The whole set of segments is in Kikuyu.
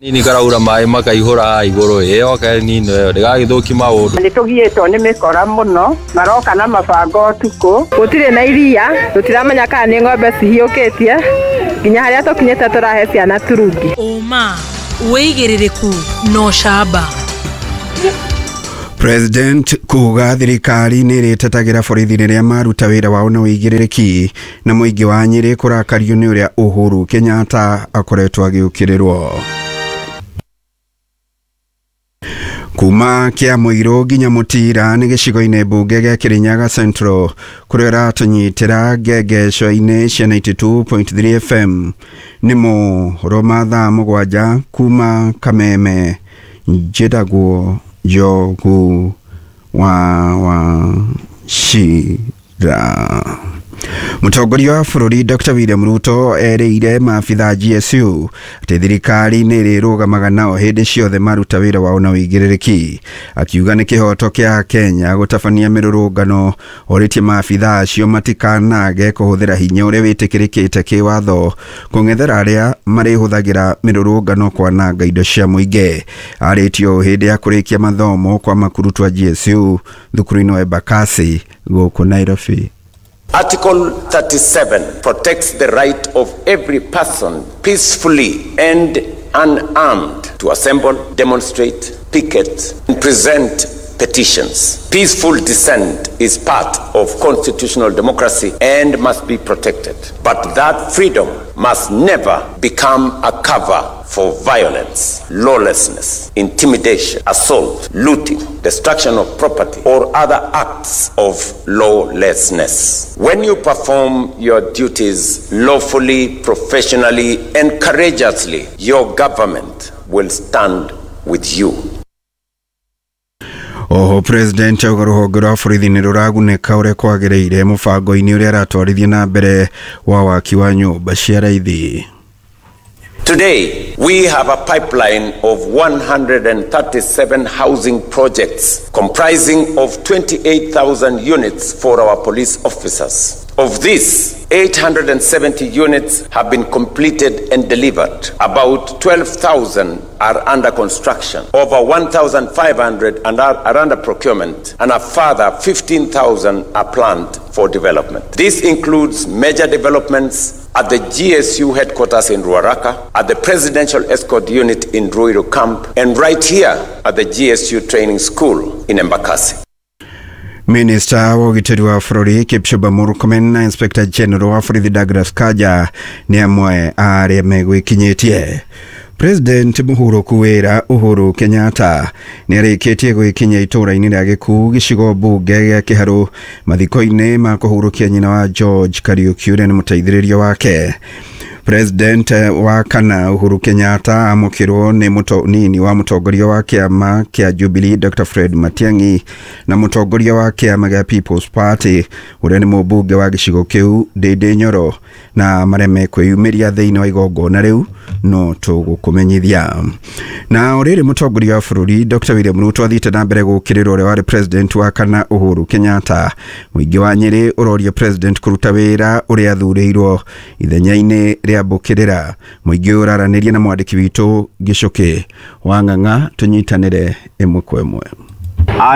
Nini karaura maĩ makaihũra igũrũ ĩyo nino ĩyo ndĩgagĩthũki maũndũ. Nĩ tũgiĩtwo nĩ mĩkora mũno, maroka na mabango ũtukũ. Gũtirĩ na iria, tũtiramenya kana nĩ ng'ombe cihiũkĩtie, nginya harĩa tũkinyĩte tũrahe ciana turungi. Ũma, wĩigĩrĩrĩku na ũcamba. President kuga thirikari nĩ ĩrĩtetagĩra borithi rĩrĩa maruta wĩra wao na ũigĩrĩrĩki na mũingĩ wa Nyĩrĩ kũrakario nĩ ũrĩa Uhuru Kenyatta akoretwo agĩũkĩrĩrwo. Kuma kĩa Mũirũ nginya Mũtira nĩ gĩcigo-inĩ mbunge gĩa Kĩrĩnyaga Central kũrĩa ũratũnyitĩra ngengeco-inĩ cia 92.3 FM nĩ mohoro ma thaa 7 kuma Kameme. Njĩtagwo Njogu wa Wachira. Mũtongoria wa bũrũri Dr. William Ruto erĩire maabitha GSU atĩ thirikari nĩ ĩrĩrũgamaga nao hĩndĩ ciothe maruta wĩra wao na ũigĩrĩrĩki. Akiuga nĩ kĩhoto kĩa Kenya gũtabania mĩrũrũngano, orĩtie maabitha acio matikanage kũhũthĩra hinya ũrĩa wĩtĩkĩrĩkĩte kĩwatho kũng'ethera arĩa marĩhũthagĩra mĩrũrũngano kwananga indo cia mũingĩ. Arĩtio hĩndĩ ya kũrĩkia mathomo kwa makurutu a GSU thukuru-inĩ wa Embakasi gũkũ Nairobi. Article 37 protects the right of every person peacefully and unarmed to assemble, demonstrate, picket, and present petitions. Peaceful dissent is part of constitutional democracy and must be protected. But that freedom must never become a cover for violence, lawlessness, intimidation, assault, looting, destruction of property, or other acts of lawlessness. When you perform your duties lawfully, professionally, and courageously, your government will stand with you. Oho President auga rũhonge rwa borithi nĩ rũragunĩka ũrĩa kwagĩrĩire mũbango-inĩ ũrĩa aratwarithia na mbere wa waki wa nyũmba cia raithi. Today, we have a pipeline of 137 housing projects comprising of 28,000 units for our police officers. Of this, 870 units have been completed and delivered. About 12,000 are under construction. Over 1,500 are under procurement, and a further 15,000 are planned for development. This includes major developments at the GSU headquarters in Ruaraka, at the Presidential Escort Unit in Ruiru Camp, and right here at the GSU Training School in Embakasi. Minister wa ũgitĩri wa bũrũri Kipchumba Murkomen na Inspector General wa borithi Douglas Kanja nĩ amwe a arĩa megwĩkinyĩtie. President mũhurũku wĩra Uhuru Kenyatta nĩ arĩkĩtie gwĩkinyia itũũra-inĩ rĩa Gĩkuu gĩcigo mbunge gĩa Kĩharũ mathiko-inĩ ma kũhurũkia nyina wa George Kariuki ũrĩa nĩ mũteithĩrĩria wake. President wa kana Uhuru Kenyatta amũkĩrwo nĩ mũnini wa mũtongoria wa kĩama kĩa Jubilee Dr. Fred Matiang'i na mũtongoria wa kĩama gĩa People's Party ũrĩa nĩ mũmbunge wa gĩcigo kĩu Ndindi Nyoro, na marĩa mekwĩyumĩria thĩinĩ wa igongona rĩu no tũgũkũmenyithia. Na o rĩrĩ mũtongoria wa bũrũri Dr. William Ruto athiĩte na mbere gũũkĩrĩra ũrĩa warĩ president wa kana Uhuru Kenyatta. Mũingĩ wa Nyĩrĩ ũroria president kũruta wĩra ũrĩa athurĩirwo ithenya-inĩ rĩa mbũkĩrĩra. Mũingĩ ũraranĩria na mwandĩki witũ Gĩcũkĩ wa Ng'ang'a, tũnyitanĩre ĩmwe kwa ĩmwe.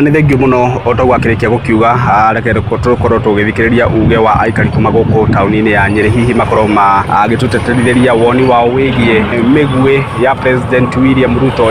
Nĩ thengio mũno o taguo akĩrĩkia gũkiuga, reke tũkorwo tũgĩthikĩrĩria uge wa aikari kuma gũkũ taũni-inĩ ya Nyĩrĩ, hihi makorwo magĩtũteterithĩria woni wao wĩgiĩ mĩguĩ ya President William Ruto.